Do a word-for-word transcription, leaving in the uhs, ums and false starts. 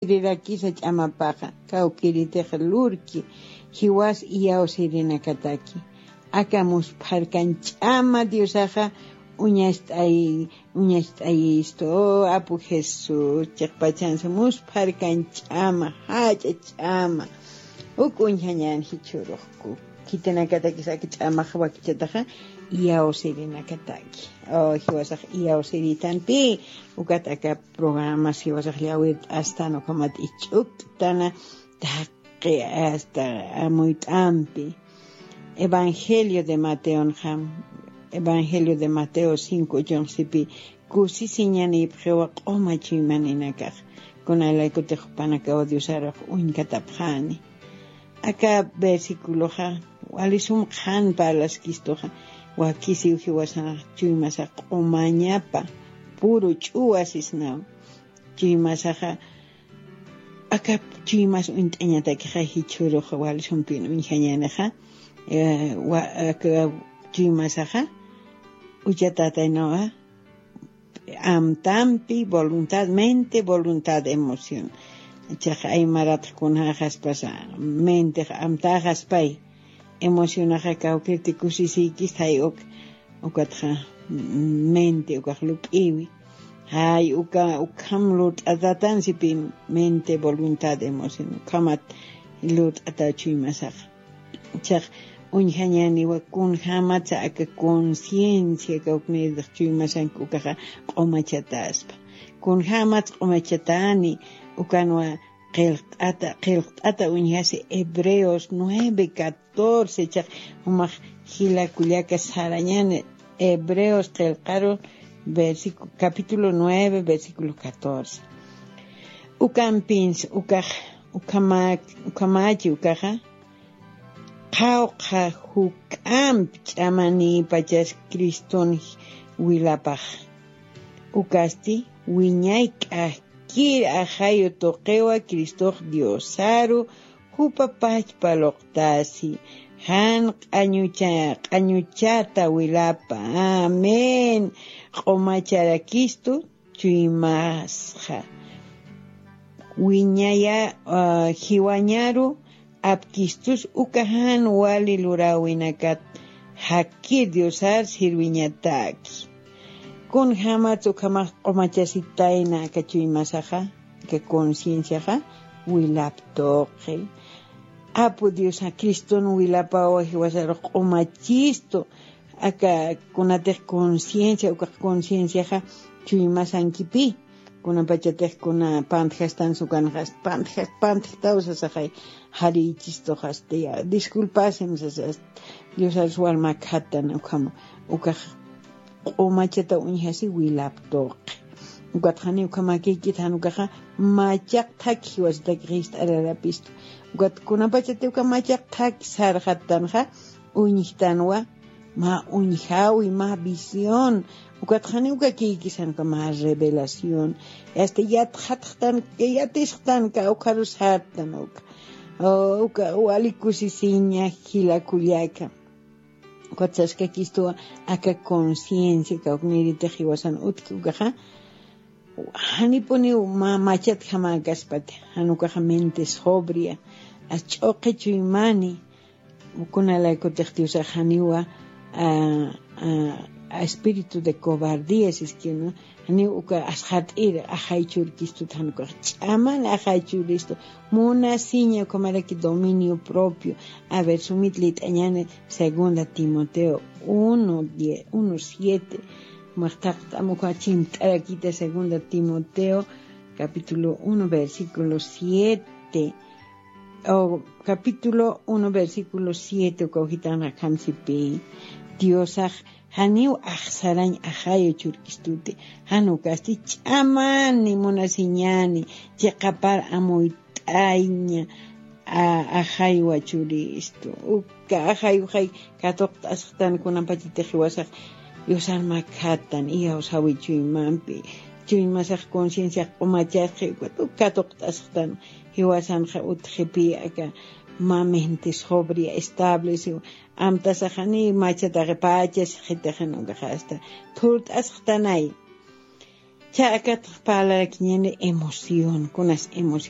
Rirakisa ch'amapaxa, kawkiritix lurki, jiwas iyawsirinakataki. Aka muspharkan ch'ama Diosaxa uñast'ay, uñast'ayistu, o Apu Jesús, chiqpachansa muspharkan ch'ama, jach'a ch'ama. Uk uñjañän jichhürux ku, khitinakatakis aka ch'amax wakichataxa, iyawsirinakataki. O, jiwasax iyawsiritanpi, ukat aka programas jiwasax llawirt'astan, ukhamat ich'uktana, taqi hasta amuyt'ampi. Evangelio de Mateonxa, Evangelio de Mateo cinco ochonxa sipi, kusisiñanïpxiwa q'uma chuymaninakax, kunalaykutix jupanakaw Diosarux uñkatapxani. Aka versiculoxa wali sum qhan parlaskistuxa, wakisiw jiwasanx chuymasax q'umañapa, puru ch'uwa sisnaw. Chuymasaxa, aka chuymas uñt'añatakixa jichhürux wali sumpin uñjañänixa, eh, wa-, aka chuymasaxa, uchatataynawa, amtampi, voluntad, mente, voluntad, emoción. Chaqa aymaratx kunjäxaspasa, mentex amtäxaspay, emocionaxa kawkirti kusisïkista, jay uk, ukatxa, mm, mente ukax lup'iwi. Jay uka, ukham lurt'atatan sipi, mente, voluntad, emoción, ukhamat lurt'ata chuymasaxa. Chax uñjañäniwa kunjämatsa aka conciencia kawknïrix chuymasank ukaxa q'umachatäspa. Kunjämats q'umachatäni, ukanwa qillqt'ata, qillqt'ata uñjasi Hebreos nueve catorce, chax jumax jila kullaka sarañäni Hebreos qillqaru versicu-, capítulo nueve, versículo catorce. Ukampins, ukax, ukhama-, ukhamächi ukaxa, qhawqha juk'amp ch'amanïpachas Criston wilapax. Ukasti wiñay k'akkir ajayu tuqiwa Cristox Diosaru jupa pachpa luqtasi, jan q'añucha-, q'añuchata wilapa. Amén. Q'umacharakistu chuymasxa. Wiñaya, ah, jiwañaru apkistus uka jan wali luräwinakat jakkir Diosar sirwiñataki. Kunjämats ukhamax q'umachasitayna aka chuymasaxa, aka concienciaxa, wilap tuqi. Apu Diosa Criston wilapawa jiwasarux q'umachistu, aka kunatix conciencia, ukax concienciaxa chuymasankipï, kunapachatix kuna pantjastasna ukanxa, pantja-, pantjtaw sasaxay, jarïchistuxasti, disculpasim sasasti, Diosarus walmakjatan ukhama, ukax q'umachata uñjasi wilap tuqi. Ukat janiw ukhamakïkit jan ukaxa machaq thaki jiwasitakix jist'ararapistu. Ukat kunapachati uka machaq thaki sarxattanxa, uñjtanwa, mä uñjawi, mä visión. Ukat janiw ukakïkis jan uka mä revelación. Hasta yatxatxtan, yatisxtan kawkharu sartan uka. O, uka wali kusisiña jila kullaka. Ukat saskakistuwa aka conciencia kawknïritix jiwasan utjki ukaxa, janipuniw mä machatjamäkaspati, jan ukaxa mente sobria, as ch'uqi chuymani, kunalaykutix Diosax janiwa, a, a, a espíritu de cobardía siskinu, janiw uka asxat'ir ajay churkistut jan ukax ch'aman ajay churistu, munasiña ukhamaraki dominio propio. A ver, sumit lït'añäni segunda Timoteo uno diez, uno siete. Maqtaqt'am uka chimt'arakita segunda Timoteo capítulo uno versículo siete. O capítulo uno versículo siete uka ujitan akham sipi. Diosax janiw axsarañ ajayu churkistuti, jan ukasti ch'amani munasiñani, chiqapar amuyt'aña, a-, ajaywa churistu. Uka ajayuxay katuqt'asxtan kunapachatix jiwasax Diosar makjatan, iyawsawi chuymampi, chuymasax concienciax q'umachasxi, ukat uk katuqt'asxtan, jiwasanxa utjipï aka mä mente sobria estableciw, amtasaxani machataxi pachasxitixin ukaxa hasta thurt'asxtanay. Cha akat parlarakiñäni emoción, kunas emoción.